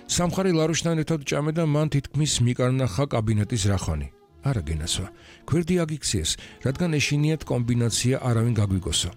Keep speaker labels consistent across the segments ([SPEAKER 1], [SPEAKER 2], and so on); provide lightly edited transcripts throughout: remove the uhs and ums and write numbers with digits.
[SPEAKER 1] სამხარი ლარუშთან ერთად ჭამე და მან თითქმის მიკარნახა კაბინეტის რახვანი. არა გენასვა, გვერდი აგიქციეს, რადგან ეშინიათ კომბინაცია არავინ გაგვიგოსო.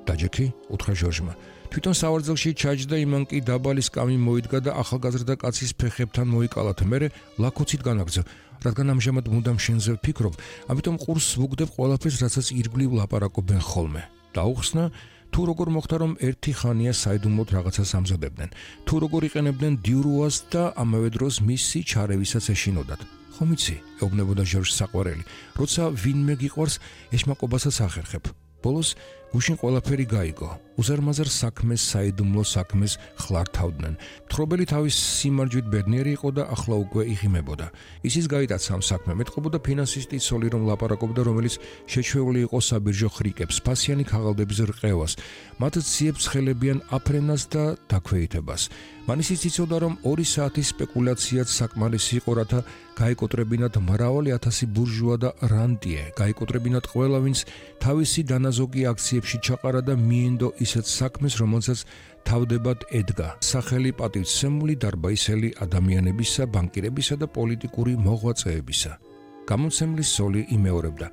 [SPEAKER 1] დაჯექი? უთხრა ჟორჟმა. თვითონ სავარძელში ჩაჯდა, იმან კი დაბალი სკამი მოიდგა და ახალგაზრდა კაცის ფეხებთან მოიკალათ. მერე ლაქოცით განაგრძო, რადგან ამჟამად მუდამ შენზე ვფიქრობ, ამიტომ ყურს ვუგდებ ყველაფერს, რასაც ირგვლივ ლაპარაკობენ ხოლმე. დაუხსნა, თუ როგორ მოხდა, რომ ერთი ხანია საიდუმლოდ რაღაცას ამზადებდნენ, თუ როგორ იყენებდნენ დიურუას და ამავე დროს მისი ჩარევისაც ეშინოდათ. ხომ იცი, ეუბნებოდა ჟორჟს საყვარელი, როცა ვინმე გიყვარს, ეშმაკობასაც ახერხებ. ბოლოს გუშინ ყველაფერი გაიგო. უზარმაზარ საქმეს, საიდუმლო საქმეს ხლართავდნენ. მთხრობელი თავის სიმარჯვით ბედნიერი იყო და ახლა უკვე იღიმებოდა. ისიც გაიტაცა ამ საქმე. მეტყობოდა ფინანსისტი ცოლი, რომ ლაპარაკობდა, რომელიც შეჩვეული იყო საბირჟო ხრიკებს, ფასიანი ქაღალდების რყევას, მათ ციებს ხელებიან აფრენას და დაქვეითებას. მან ისიც იცოდა, რომ 2 საათის სპეკულაციაც საკმარისი იყო, რათა გაიკოტრებინათ მრავალი ათასი ბურჟუა და რანტიე, გაიკოტრებინათ ყველა, ვინც თავისი დანაზოგი აქციებში ჩაყარა და მიენდო ისეთ საქმეს, რომელსაც თავდებად ედგა სახელი პატივცემული დარბაისელი ადამიანებისა, ბანკირებისა და პოლიტიკური მოღვაწეებისა. გამოცემლის სოლი იმეორებდა.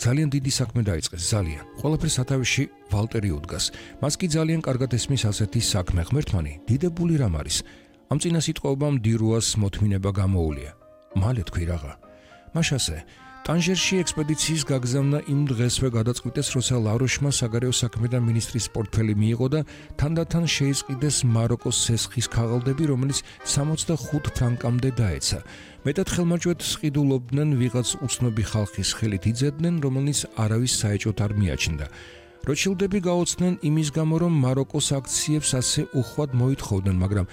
[SPEAKER 1] ძალიან დიდი საქმე დაიწყეს, ძალიან. ყველაფერს სათავეში ვალტერი უდგას. მას კი ძალიან კარგად ესმის ასეთი საქმე. ღმერთმანი, დიდებული რამ არის. ამ წინა სიტყვებამ დირუას მოთმინება გამოუვლია. მალე თქვი რაღა. მაშასე ტანჟერში ექსპედიციის გაგზავნა იმ დღესვე გადაწყვიტეს, როცა ლაროშმა საგარეო საქმეთა მინისტრის პორტფელი მიიღო და თანდათან შეისყიდეს მაროკოს სესხის ქაღალდები, რომელიც 65 ფრანკამდე დაეცა. მეტად ხელმარჯვედ სყიდულობდნენ, ვიღაც უცნობი ხალხის ხელით იძებდნენ, რომელიც არავის საეჭვოდ არ მიაჩნდა. როჩილდები გაოცდნენ იმის გამო, რომ მაროკოს აქციებს ასე უხვად მოითხოვდნენ, მაგრამ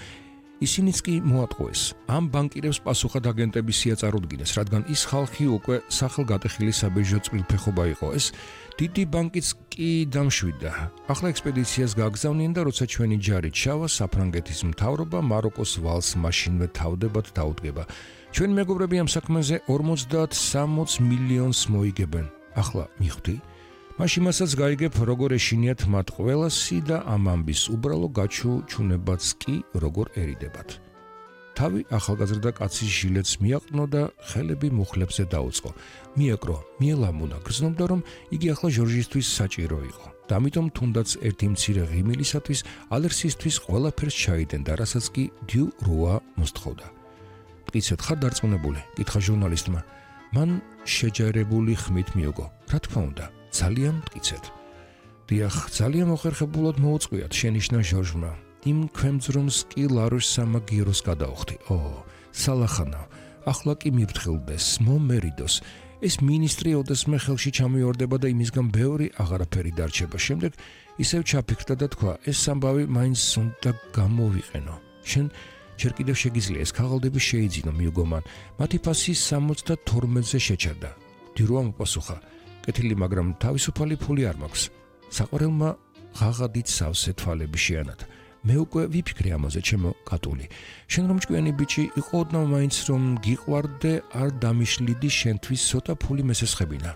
[SPEAKER 1] ისინიც კი მოატყუეს. ამ ბანკირებს პასუხად აგენტების სია წარუდგინეს, რადგან ის ხალხი უკვე სახელგატეხილი საბირჟო წყვილფეხობა იყო. ეს დიდი ბანკიც კი დამშვიდდა. ახლა ექსპედიციას გაგზავნიან და როცა ჩვენი ჯარი ჩავა, საფრანგეთის მთავრობა მაროკოს ვალს მაშინვე თავდებად დაუდგება. ჩვენი მეგობრები ამ საქმეზე 50-60 მილიონს მოიგებენ. ახლა მიხვდი? მაშინ მასაც გაიგებ, როგორ ეშინიათ მათ ყველასი და ამ ამბის უბრალო გაჩუჩუნებაც კი როგორ ერიდებათ. თავი ახალგაზრდა კაცის ჟილეტს მიაყნო და ხელები მუხლებზე დაუწყო. მიეკრო, მიელამუნა, გრძნობდა, რომ იგი ახლა ჟორჟისთვის საჭირო იყო. და ამიტომ თუნდაც ერთი მცირე ღიმილისათვის, ალერსისთვის ყველაფერს ჩაიდენდა, რასაც კი დიუ რუა მოსთხოვდა. მტკიცედ ხარ დარწმუნებული? კითხა ჟურნალისტმა. მან შეჯერებული ხმით მიოგო. რა თქმა უნდა. ძალიან მტკიცედ. დიახ, ძალიან მოხერხებულად მოუწყვიათ, შენიშნა ჟორჟმა. იმ ქვემძრომს კი ლაროშ სამაგიეროს გადაუხდი. სალახანა, ახლა კი მიფრთხილდეს, მომერიდოს. ეს მინისტრი ოდესმე ხელში ჩამიორდება და იმისგან ბევრი აღარაფერი დარჩება. შემდეგ ისევ ჩაფიქრდა და თქვა, ეს ამბავი მაინც უნდა გამოვიყენო. შენ ჯერ კიდევ შეგიძლია ეს ქაღალდები შეიძინო, მიუგო მან. მათი ფასი 72-ზე შეჩერდა. დირუა მოპასუხა. კეთილი, მაგრამ თავისუფალი ფული არ მაქვს. საყვარელმა ღაღადით სავსე თვალები შეანათა. მე უკვე ვიფიქრე ამაზე, ჩემო კატული. შენ რომ ჭკვიანი ბიჭი იყო, ოდნავ მაინც რომ გიყვარდე, არ დამიშლიდი შენთვის ცოტა ფული მესესხებინა.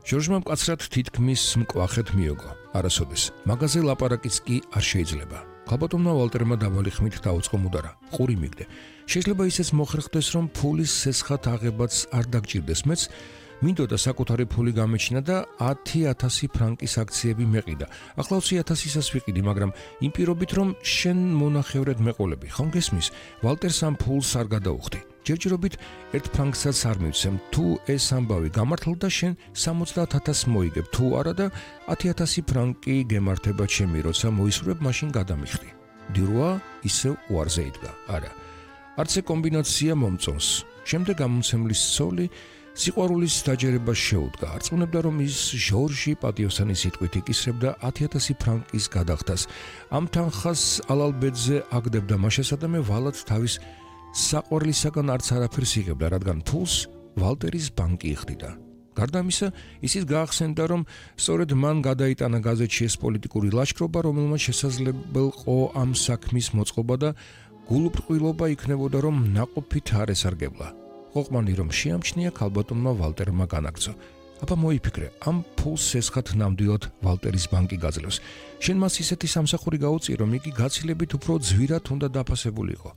[SPEAKER 1] ჟორჟმა მკაცრად თითქმის მკვახეთ მიოგო. არასოდეს. მაგაზე ლაპარაკიც კი არ შეიძლება. ქალბატონმა ვალტერმა დაბალი ხმით დაუწყო მუდარა. ყური მიგდე. შეიძლება ისეც მოხერხდეს, რომ ფულის სესხად აღებაც არ დაგჭირდეს. მეც მინდოდა საკუთარი ფული გამეჩინა და 10,000 ფრანკის აქციები მეყიდა. ახლა 20,000-ისას ვიყიდი, მაგრამ იმ პირობით, რომ შენ მონახევრად მეყოლები. ხომ გესმის? ვალტერს ამ ფულს არ გადაუხდი. ჯერჯერობით 1 ფრანკსაც არ მივცემ. თუ ეს ამბავი გამართლდა, შენ 70,000 მოიგებ. თუ არა და 10,000 ფრანკი გემართება ჩემი, როცა მოისურვებ, მაშინ გადამიხდი. დირუა ისევ უარზე იდგა. არა. არც ეს კომბინაცია მომწონს. შემდეგ გამოცემლის სოლი სიყვარულის დაჯერებას შეუდგა. არწმუნებდა, რომ ის ჟორჟი პატიოსანი სიტყვით იკისრებდა 10,000 ფრანკის გადახდას. ამ თანხას ალალბედზე აგდებდა მაშასა და მე ვალად თავის საყვარლისაგან არც არაფერს იღებდა, რადგან ფულს ვალტერის ბანკი იხდიდა. გარდა ამისა, ისიც გაახსენდა, რომ სწორედ მან გადაიტანა გაზეთში ეს პოლიტიკური ლაშქრობა, რომელმაც შესაძლებელყო ამ საქმის მოწყობა და გულუბრყვილობა იქნებოდა, რომ ნაყოფით არ ესარგებლა. ყოყმანი რომ შეამჩნია, ქალბატონმა ვალტერმა განაგრძო. აბა მოიფიქრე, ამ ფულს სესხად ნამდვილად ვალტერის ბანკი გაძლევს. შენ მას ისეთი სამსახური გაუწიე, რომ იგი გაცილებით უფრო ძვირად უნდა დაფასებულიყო.